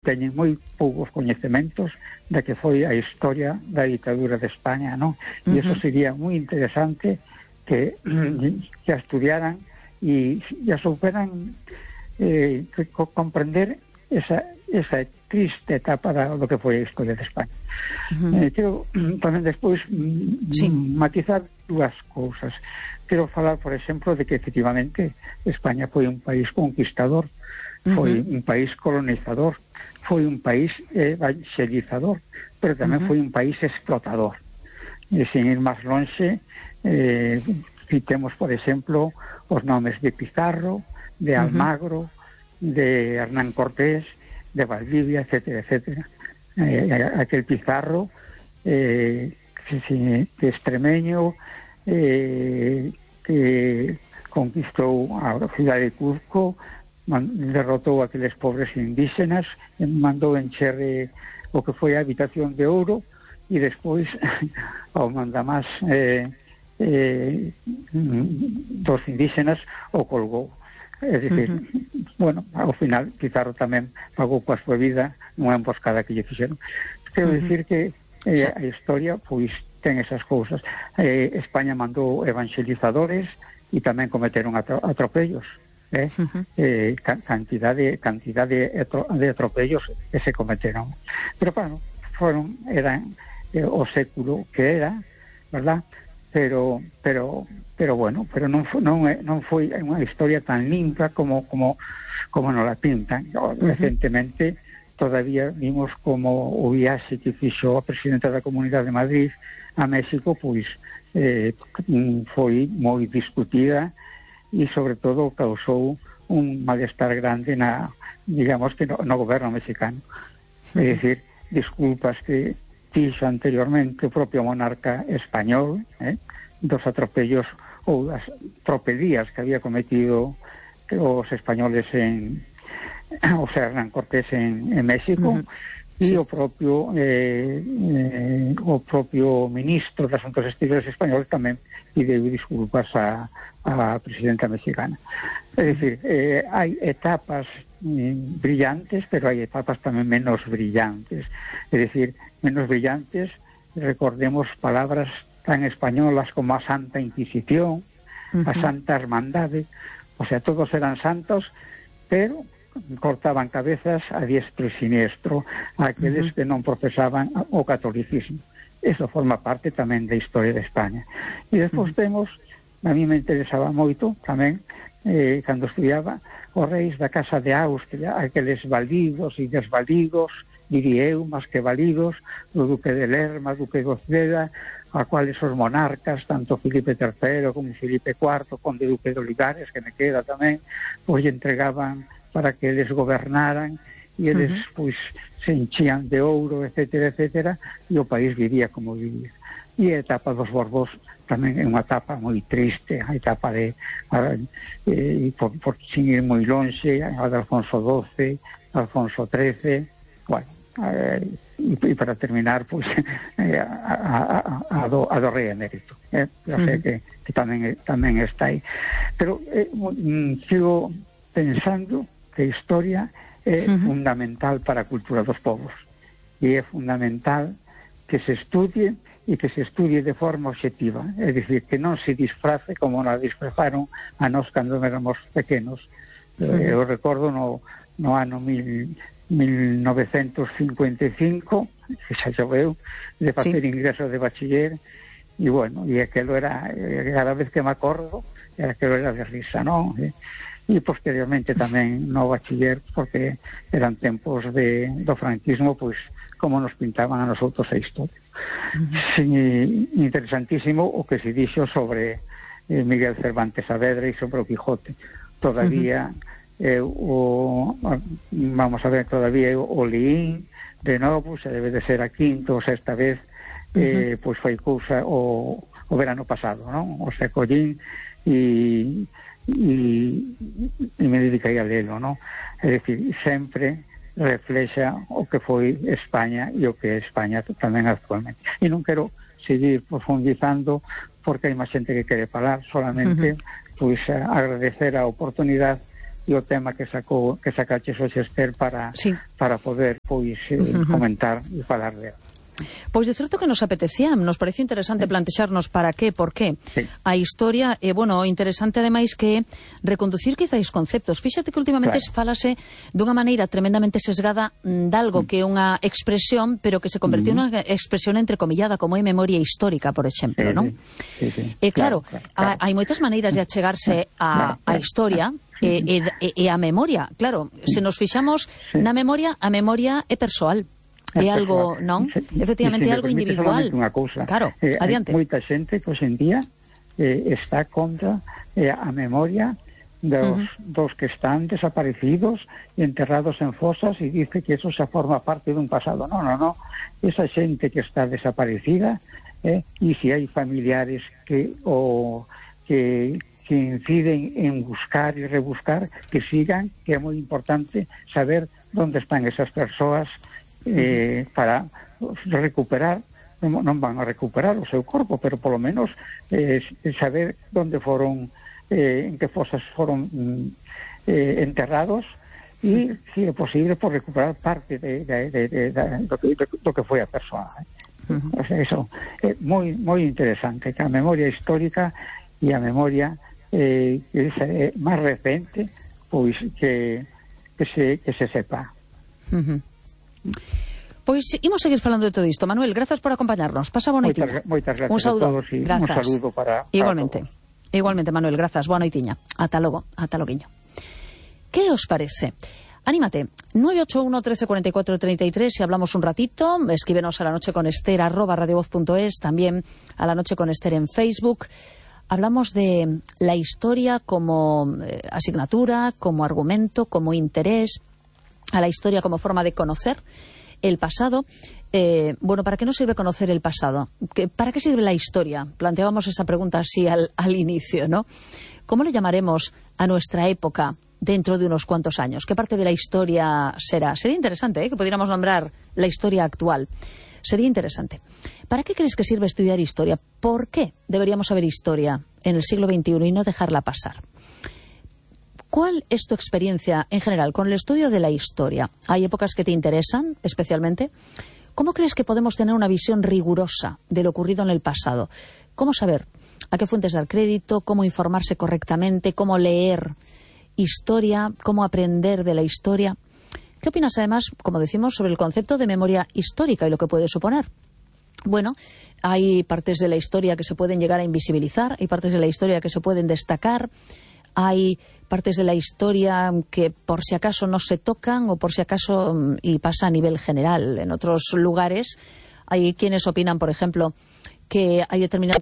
teñen moi poucos coñecementos da que foi a historia da ditadura de España, non? E iso sería moi interesante que a estudiaran e a souperan comprender esa triste etapa do que foi a historia de España. Quero tamén despois matizar dúas cousas. Quero falar, por exemplo, de que efectivamente España foi un país conquistador, foi un país colonizador, foi un país evangelizador, pero tamén foi un país explotador. E sin ir máis lonxe, citemos, por exemplo, os nomes de Pizarro, de Almagro, de Hernán Cortés, de Valdivia, etcétera, etcétera. Aquel Pizarro, extremeño, que conquistou a cidade de Cuzco, derrotou aqueles pobres indígenas, mandou encher o que foi a habitación de ouro e despois ao mandamás dos indígenas o colgou. É dicir, bueno, ao final Pizarro tamén pagou coa súa vida nunha emboscada que lle fixeron. Quero dicir que a historia pois ten esas cousas. España mandou evangelizadores e tamén cometeron atropellos. Cantidad de atropellos que se cometeron, pero claro, eran o século que era, verdad? Pero bueno, pero non foi unha historia tan limpa como nos la pintan. Recentemente todavía vimos como o viaxe que fixo a presidenta da Comunidade de Madrid a México, pois foi moi discutida e sobre todo causou un malestar grande digamos que no goberno mexicano. É dicir, disculpas que fixo anteriormente o propio monarca español, dos atropellos ou das tropelías que había cometido os españoles Hernán Cortés en México, e o propio ministro de Asuntos Exteriores español tamén pideu disculpas a presidenta mexicana. É dicir, hai etapas brillantes, pero hai etapas tamén menos brillantes. É dicir, menos brillantes, recordemos palabras tan españolas como a Santa Inquisición, a Santa Hermandade, o sea, todos eran santos, pero cortaban cabezas a diestro e siniestro a aqueles que non profesaban o catolicismo. Eso forma parte tamén da historia de España. E despois temos, a mí me interesaba moito tamén, cando estudiaba, os reis da Casa de Austria, aqueles validos e desvalidos, diría eu, máis que validos, do Duque de Lerma, Duque de Oceda, a cuales os monarcas, tanto Filipe III como Filipe IV, Conde Duque de Olivares, que me queda tamén, pois entregaban para que eles gobernaran e eles pois se enchían de ouro, etcétera, etcétera, e o país vivía como vivía. E a etapa dos Borbós tamén é unha etapa moi triste, a etapa por sin ir moi lonxe, a de Alfonso XII, Alfonso XIII, bueno, e para terminar, pois a do rei emérito. Eu sei que tamén está aí. Pero sigo pensando que a historia é fundamental para a cultura dos povos e é fundamental que se estudie e que se estudie de forma obxectiva, é dicir, que non se disfrace como nos disfrazaron a nós cando éramos pequenos. Eu recordo no ano 1955, que xa choveu, de facer ingreso de bachiller, e bueno, e aquelo era, cada vez que me acordo, aquelo era de risa, non? E posteriormente tamén no bachiller, porque eran tempos do franquismo, pois como nos pintaban a nosotros a historia. Interesantísimo o que se dixo sobre Miguel Cervantes Saavedra e sobre o Quijote. Todavía vamos a ver, todavía o leín de novo, xa debe de ser a quinta ou sexta vez, pois foi cousa o verano pasado, non? O sea, collín e me dediquei a lelo, non? É dicir, sempre reflexa o que foi España e o que é España tamén actualmente. E non quero seguir profundizando porque hai máis xente que quere falar, solamente pois agradecer a oportunidade e o tema que sacaches hoxe, Esther, para poder pois comentar e falar de. Pois de certo que nos apetecía, nos pareció interesante plantexarnos para qué, por qué a historia, bueno, interesante ademais que reconducir quizáis conceptos. Fíxate que últimamente falase dunha maneira tremendamente sesgada dalgo que é unha expresión, pero que se convertiu nunha expresión entrecomillada, como é memoria histórica, por exemplo, non? Claro, hai moitas maneiras de achegarse a historia e a memoria. Claro, se nos fixamos na memoria, a memoria é persoal. É algo, non? Efectivamente, é algo individual. Claro, adiante. Moita xente que hoxe en día está contra a memoria dos que están desaparecidos e enterrados en fosas e dice que eso xa forma parte dun pasado. No. Esa xente que está desaparecida e se hai familiares que inciden en buscar e rebuscar, que sigan, que é moi importante saber onde están esas persoas para recuperar, non van a recuperar o seu corpo, pero polo menos saber onde foron, en que fosas foron enterrados, e, se é posible, por recuperar parte do que foi a persoa. O sea, eso é moi interesante, que a memoria histórica e a memoria máis recente, pois que se sepa. Pois imos seguir falando de todo isto. Manuel, grazas por acompañarnos. Pasa boa noitiña. Moitas gracias un saúdo. A todos e un saludo para igualmente. Todos. Igualmente, Manuel, grazas. Boa noitiña. Ata logo, ata loguiño. Que os parece? Anímate, 981 13 44 33, si hablamos un ratito, escríbenos a la noche con Esther @radiovoz.es, también a la noche con Esther en Facebook. Hablamos de la historia como asignatura, como argumento, como interés, a la historia como forma de conocer el pasado. Bueno, ¿para qué nos sirve conocer el pasado? ¿Para qué sirve la historia? Planteábamos esa pregunta así al inicio, ¿no? ¿Cómo le llamaremos a nuestra época dentro de unos cuantos años? ¿Qué parte de la historia será? Sería interesante que pudiéramos nombrar la historia actual. Sería interesante. ¿Para qué crees que sirve estudiar historia? ¿Por qué deberíamos saber historia en el siglo XXI y no dejarla pasar? ¿Cuál es tu experiencia en general con el estudio de la historia? ¿Hay épocas que te interesan especialmente? ¿Cómo crees que podemos tener una visión rigurosa de lo ocurrido en el pasado? ¿Cómo saber a qué fuentes dar crédito? ¿Cómo informarse correctamente? ¿Cómo leer historia? ¿Cómo aprender de la historia? ¿Qué opinas además, como decimos, sobre el concepto de memoria histórica y lo que puede suponer? Bueno, hay partes de la historia que se pueden llegar a invisibilizar, hay partes de la historia que se pueden destacar. Hay partes de la historia que por si acaso no se tocan o por si acaso, y pasa a nivel general. En otros lugares hay quienes opinan, por ejemplo, que hay determinados